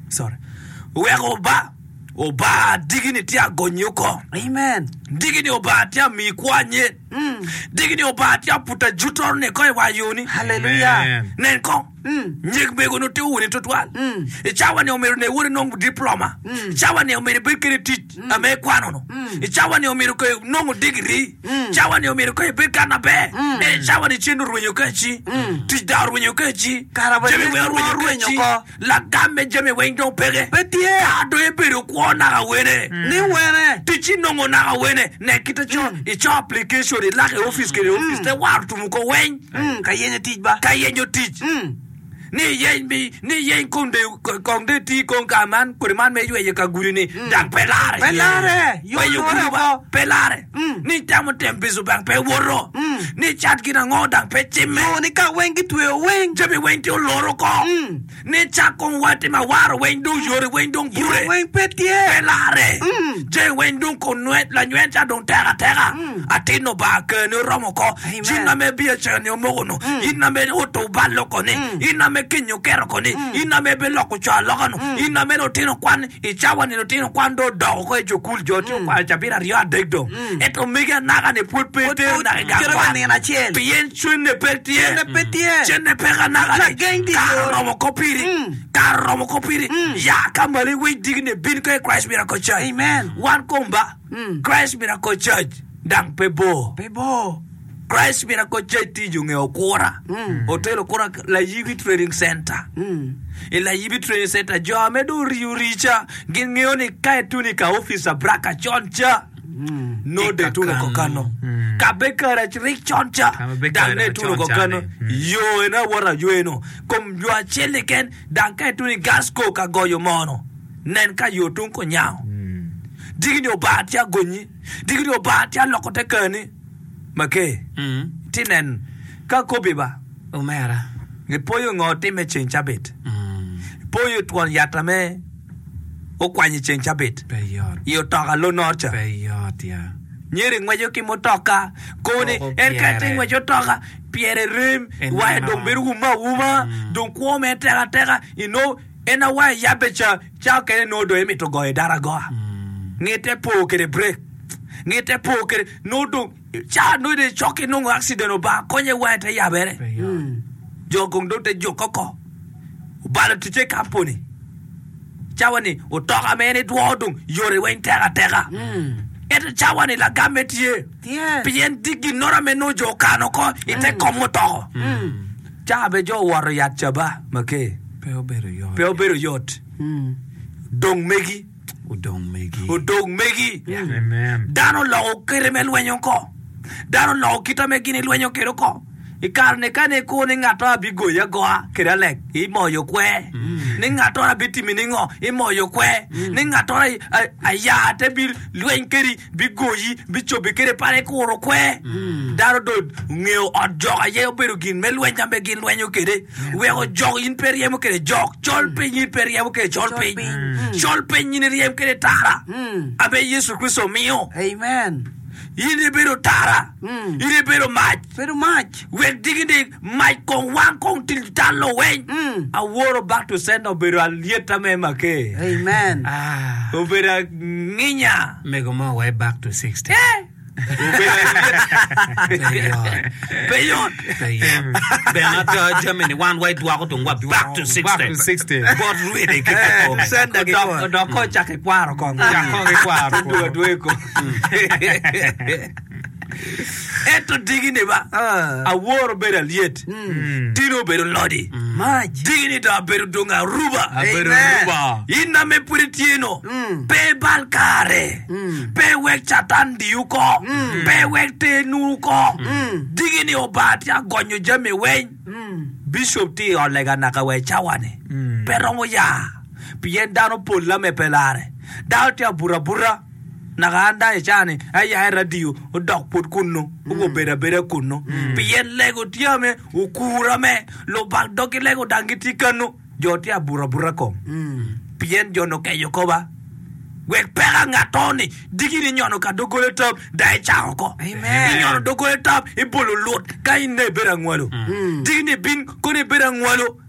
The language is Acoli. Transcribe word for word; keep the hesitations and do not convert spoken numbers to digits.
Sorry. Weko ba Obanga digi-ni tye agonyi oko. Amen. Digi-ni Obanga tye amiyi kwo anyen. Digi-ni Obanga tye aputa jutoro-ni eko i wa yoni. Haleluya. Amen. Nen kong, nyek mego-ni otiko woni tutwal. I cawa-ni omyero ne woni nongo diploma. I cawa-ni omyero ibed kede tic ame ikwano-nu. I cawa-ni omyero ko inongo digiri. Cawa-ni omyero ko ibed ka maber. Ento i cawa-ni cen orwenyo keci. Tic dong orwenyo keci. Kara wa Jami tic weng mo orwenyo orwenyo keci. oko. Lagam me jami weng dong peke. Pe tye. Ka dong ibedo kwo naka wene. Ni wene. Tic inongo naka wene. Nen kite con ico application ilak i opic kede opic te waro tumu ko weng. Ka yenyo tic ba. Ka yenyo tic. Ni iyeny mi ni iyeny kong de kong de iti kong ka man kodi man me yweyo ka gudi ni dang pe lare. Pe lare. Yo Yweyo lore gudi ba oko. pe lare. Ni itamo tem bicu bang pe woto. Ni cat gin ango dang pe cimme. Yo ni ka weng gitweyo weng. Jami weng tye oloro oko. Ni cak kong wa timo awaro weng dong yore weng dong bure. Weng pe tye. Pe lare. Jami weng dong kun nwet lanywen ca dong tek ateka. Atin Obanga kerni oromo oko. Jin ame biacara ni omoko nu. In ame oto bal oko ni. In ame kenyi oketo oko ni. In ame biloko co aloka nu. In ame lutino kwan i cawa ni lutino kwan dong odok oko i cukul jo tye okwano cabit aryo adek dong. Ento megi anaka ni pwod pe Pwod itero pe naka i gang cito ka kwan. nino acel. Pien cwenne pe tye. Cenne pe tye. Cenne peke anaka ni. Lageng tye Kare yo. oromo oko piri. Kare oromo oko piri. Ya ka malo iwiny digini bin ka i Christ Miracle Church. Amen. Wan kom ba. Christ Miracle Church dang pe bor. Pe bor. Christ Miracle Church tye i yo nge Okura. Hotel Okura Layibi Trading Center. I Layibi Trading Center jo ame dong oriyo rica gin ngeyo ni ka ituno i ka opic Abraka con ca nongo dong ituno ko kano. Ka be karac rik con ca Ka be dang karac nongo ituno con ko ca kano. ni. Yo eno awoto aywe-nu. Kom yo acel keken dang ka ituno i Gasco ka goyo mono nen ka yo tung kunyango. Digini Obanga tye agonyi, digini Obanga tye aloko te kani. Make, ti nen ka kobi ba. Omera. Ipoyo ngo timme ceng cabit? Ipoyo twon yat ame okwanyo i ceng cabit Pe yot. i otoka lonor ca? Pe yot ya. Nyeri ngweco ki mutoka, koni Koko en ka etye pyere. ngweco otoka, pyere rem, Eneno. wange dong bedo wume awuma, dong kwo mere tek ateka, inongo en awa iyabbe ca, ca okene nongo dong emito goyo dano agoa. Ngite po kede brek, ngite po kede, nongo dong ca nongo dong icok ki nongo accident Obanga konye wange te yabere. Pe yot. Jo kong dong te jukke oko. Obalo ticce i kampuni. Cawa ni otoka ma en edwoko dong yore weng tek ateka. Ento cawa ni lagamme tye. Tye. Pien tye ginnoro ame nongo jo okano oko i te kom mutoko. Cawa be jo owoto yat caba make Pe obedo yot. pe obedo yot. Dong megi. Odong megi. Odong megi. Amen. Dano oloko kite me lwenyo oko. Dano oloko kite me gin ilwenyo kwede oko. I kare-ni ka ne ikur ni ngat mo abigoyi agoa kede alek, imoyo kwer. Ni ngat mo abitimi ningo, imoyo kwer. Ni ngat mo aya te bilweny kedi, bigoyi, bicobi kede pala ikuro kwer. Dano dong ongeyo ot jok aye obedo gin me lweny ame gin lwenyo kede. Weko jok in pe iryemo kede jok, col piny in pe iryemo kede col piny. Col piny in iryem kede tara ame Yecu Kricito omiyo. Amen. In ibedo tara, in ibedo mac. Bedo mac. Wek digini mac kong wang kong til tal oweny. Aworo back to sender obedo alyetta me make. Amen. Obedo anginya. Mego mo wa i back to sixty. Eh! Obedo alyetta. Pe yot. Pe yot. Pe yot. Bene ada jami ni wan wa idwoko dong wa back to sixty. Back to sixty. Bot rwede ki kikome. Sender ki Odok odok ko cak ikwaro kong. Cak kong ikwaro Dwogo kong. adwogo i kom. Ento digini ba, aworo bedo alyet, tino obedo lodi, digini dong abedo dong aruba. Abedo Amen. aruba. In ame pud itye-nu, pe ibal kare, pe iwek Catan diyi oko, pe iwek ter nu oko. Digini Obanga tye agonyo jami weng. Bicop tye i ot lega naka wa i cawa-ni, pe romo ya, pien dano pol ame pe lare. Dano tye abuto abuta. Naka an dong i caa-ni aya i radio odok pwod kunnu, obedo abeda kunnu. Pien lego tye ame okura me lubak dog ki lego dang gitye kanu, jo tye abuto abuta kom. Pien jo-nu okeco koba, wek peka ngat-to-ni diki ni nyono ka doggola tap dang icako oko. Inyono doggola tap ibolo lut ka in dong ibedo angwalo. Diki ni ibin kono ibedo angwalo.